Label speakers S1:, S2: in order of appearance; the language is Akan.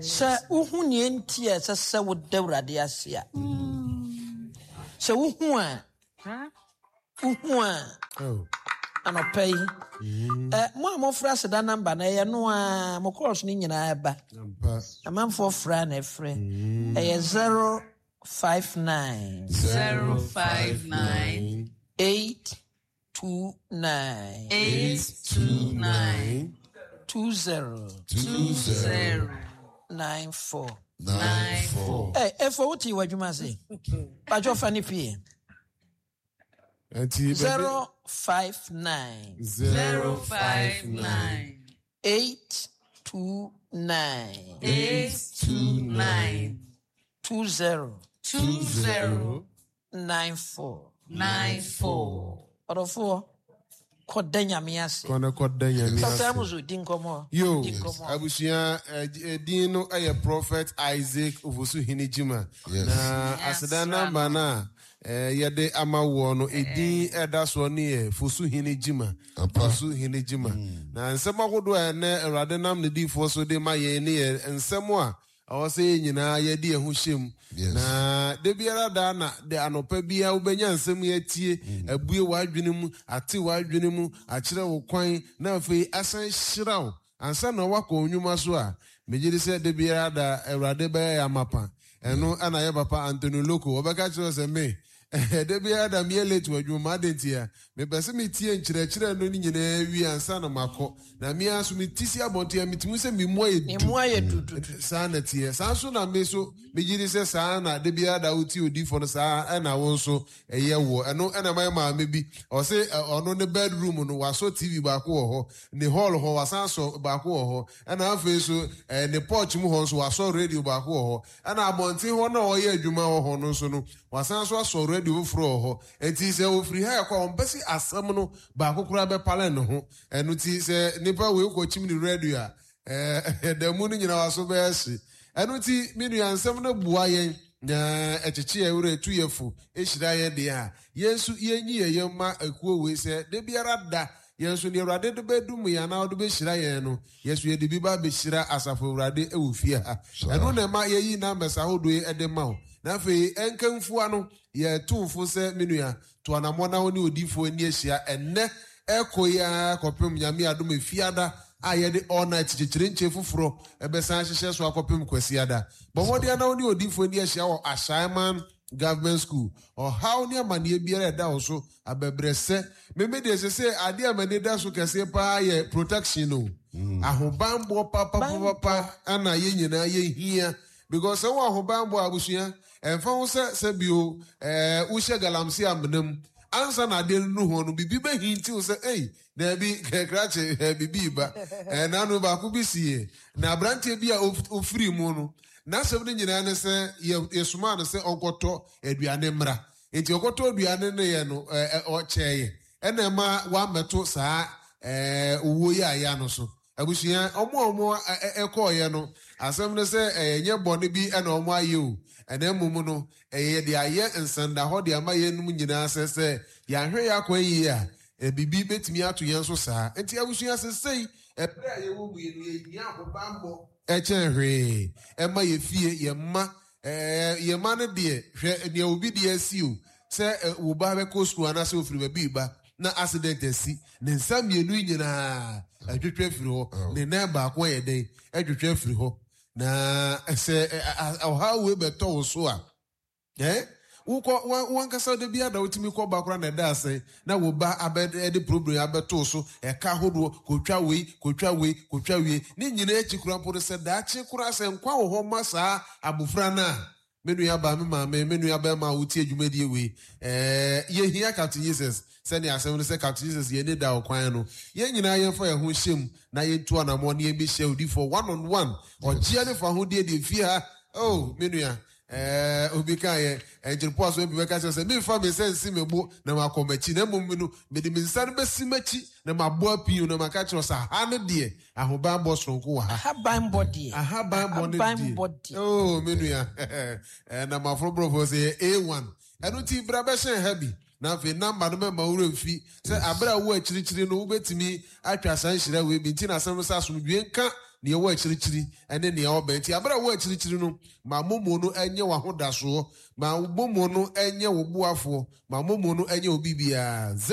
S1: Sɛ wohu nea enti a ɛsɛ sɛ woda Awurade ase a, sɛ wohu a, wohu a, anɔpa yi, mo a mofrɛ aseda namba no, ɛyɛ no a, mo kɔɔso no nyinaa ɛba. Amanfoɔ frɛ a na ɛfrɛ. Ɛyɛ 059.
S2: 059.
S1: 8 29.
S2: 829.
S1: 20.
S2: 20.
S1: 94.
S2: 94.
S1: Ɛ ɛfɔ wote wɔ adwuma ase. Bàtjọ́ fa ne pie.
S3: Nti
S1: 059.
S2: 059.
S1: 829.
S2: 829.
S1: 20.
S2: 20.
S1: 94.
S2: 94.
S1: Ɔdɔfoɔ, kɔda Nyame ase.
S3: Kɔ na kɔda Nyame ase.
S1: Dɔkta Amuzu, di nkɔmmɔ.
S3: Yo,
S1: Di nkɔmmɔ.
S3: abusua, eh, din no yɛ Prophet Isaac Ofosu Hene Gyima.
S4: Yes.
S3: Na aseda namba no a eh, yɛde ama woɔ no, edin ɛda soɔ no yɛ Fosu Hene Gyima.
S4: Ampa.
S3: Fosu Hene Gyima. Na nsɛm ahodoɔ a ɛnɛ Awurade nam ne diifoɔ so de ma yɛn ne yɛ nsɛm a ɛwɔ sɛ yɛn nyinaa yɛde yɛn ho hyɛ mu. Na da biara da na de anɔpa biara wobɛnya nsɛm yi atie, abue w'adwene mu, ate w'adwene mu, akyerɛ wo kwan, na afei asan hyira wo. Ansa na woakɔ wo nnwuma so a, megye di sɛ da biara da Awurade bɛyɛ yɛn amapa. Ɛno na yɛ papa Anthony Loko, ɔbɛka kyerɛ wo sɛ me, da biara da meyɛ late wɔ adwuma mu, adɛn ntia? Mepɛ sɛ metie nkyerɛkyerɛ no nyinaa wie ansa na makɔ. Na me ara nso mete si abɔnten a metumi sɛ me mu ayɛ
S1: Ne
S3: du.
S1: mu ayɛ dududu.
S3: Saa na teɛ. Saa nso na me nso megye di sɛ saa na da biara da wotie odiyifoɔ no saa ɛna wo nso ɛyɛ woɔ. Ɛno ɛna ɛma yɛ maame bi ɔse ɔno ne bedroom no wasɔ TV baako wɔ hɔ, ne hall hɔ wasan asɔ baako wɔ hɔ, ɛna afei nso ne porch mu hɔ nso wasɔ radio baako wɔ hɔ, ɛna abɔnten hɔ no a ɔyɛ adwuma wɔ hɔ no nso no wasan nso asɔ radio foforɔ wɔ hɔ. Enti sɛ ofiri ha ɛkɔ a ɔmpɛ sɛ asɛm no baako koraa bɛpale ne ho. Ɛno ti sɛ nipa wei kɔkyim ne radio a da mu no nyinaa waso bɛyɛ hye. Ɛno nti me nua nsɛm no boa yɛn na ɛkyekye yɛn werɛ, tu yɛn fo, hyira yɛn deɛ a yɛn nso yɛnyi yɛn yam ma akuo wei sɛ da biara da yɛn nso deɛ Awurade de bɛdom yɛn anaa ɔde bɛhyira yɛn no yɛn nso yɛde bi ba bɛhyira asafo Awurade wɔ fie ha. Ɛno na ɛma yɛyi numbers ahodoɔ yi de ma wo. Na afei ɛnkamfua no yɛto fo sɛ me nua to anammɔn na wo ne odiyifoɔ ani ahyia ɛnnɛ ɛkɔ yi ara kɔpem Nyame adom efiada a yɛde all night kyekyerɛnkyɛ foforɔ ɛbɛsan ahyehyɛ so akɔpem Kwasiada. Bɔ mmɔden na wo ne odiyifoɔ ani ahyia wɔ Ashaiman Government School. Ɔhaw ne amanneɛ biara ɛda wo so abɛbrɛsɛ. Meme deɛ sɛ sɛ adeɛ a m'ani da so kɛseɛ paa yɛ protection o. Ahobanbɔ papapapa ɛna yɛn nyinaa yɛhia. Because sɛ wɔ ahobanbɔ a abusua ɛmfa ho sɛ sɛ bio wohyɛ galamsey amena mu ansa na adeɛ no nu ho no biribi bɛhintiw sɛ ei daabi krakye biribi ba. N'ano baako bi sie na aberanteɛ bi a ofiri mu no n'asɛm no nyinaa ne sɛ yɛsomaa no sɛ ɔnkɔtɔ aduane mmra. Nti ɔkɔtɔ aduane no yɛ no ɔkyɛeɛ ɛna ɛma wammɛto saa owuo yi a yɛ ano so. Abusua ɔmo a ɔmo ɛkɔɔyɛ no asɛm no sɛ ɛnyɛ bɔne bi ɛna ɔmo ayɛ o, ɛna mmom no ɛyɛ de ayɛ nsɛndahɔ de ama yɛnum nyinaa sɛ sɛ yɛahwɛ yɛ akwan yie a biribi bɛtumi ato yɛn so saa. Nti abusua sesei ɛberɛ a yɛwɔ mu yi no yɛhia ahobammɔ ɛkyɛn hwee ɛma yɛ fie yɛ mma yɛ mma no deɛ hwɛ nea obi deɛ asi o sɛ wo ba bɛkɔ sukuu anaasɛ ofiri baabi ba na accident asi ne nsa mmienu nyinaa atwitwa afiri hɔ, ne nan baako ayɛ dɛn atwitwa afiri hɔ. Na sɛ ɔhaw wei bɛtɔ wo so a wokɔ wankasa da bi ada wotumi kɔ ba koraa na ɛda ase na wo ba abɛ de problem abɛto so ɛka ahodoɔ kotwa wei kotwa wei kotwa wei ne nyinaa akyi koraa mpo no sɛ daakye koraa sɛ nkwa wɔ hɔ ma saa abofra no a me nua ba me maame me nua bɛrima a wotie dwumadie wei yɛhia Captain Jesus sɛnea asɛm no sɛ Captain Jesus yɛn ni da ɔkwan no yɛn nyinaa yɛmfa yɛn ho hyɛ mu na yɛntu anammɔn ne yɛmbɛhyia odifoɔ one on one ɔgyeɛ ne fa ho deɛ deɛ fie ha oh me nua obi ka yɛ nkyerɛpo aso bi bɛka kyerɛ sɛ memfa me nsa nsi me bo na makɔ m'akyi na mmom no mede me nsa no bɛsi m'akyi na mabɔ apii na maka kyerɛ sɛ ha ne deɛ ahobanbɔ soronko wɔ ha.
S1: Ahabanbɔ deɛ.
S3: Ahabanbɔ ne deɛ. Oh me nua na maforo borɔfo sɛ yɛ A1. Ɛno ti bra bɛhyɛn ha bi. Na afei namba no mɛma wura mfi sɛ abere a wo akyirikyiri no wobɛtumi atwa saa nhyira wei bi nti na asɛm no sɛ asomdwie nka. Nea ɛwɔ akyirikyiri ne nea ɔbɛn. Nti abere a ɛwɔ akyirikyiri no, ma momo no nyɛ w'ahodasoɔ, ma momo no nyɛ wo boafoɔ, ma momo no nyɛ wo biribiara.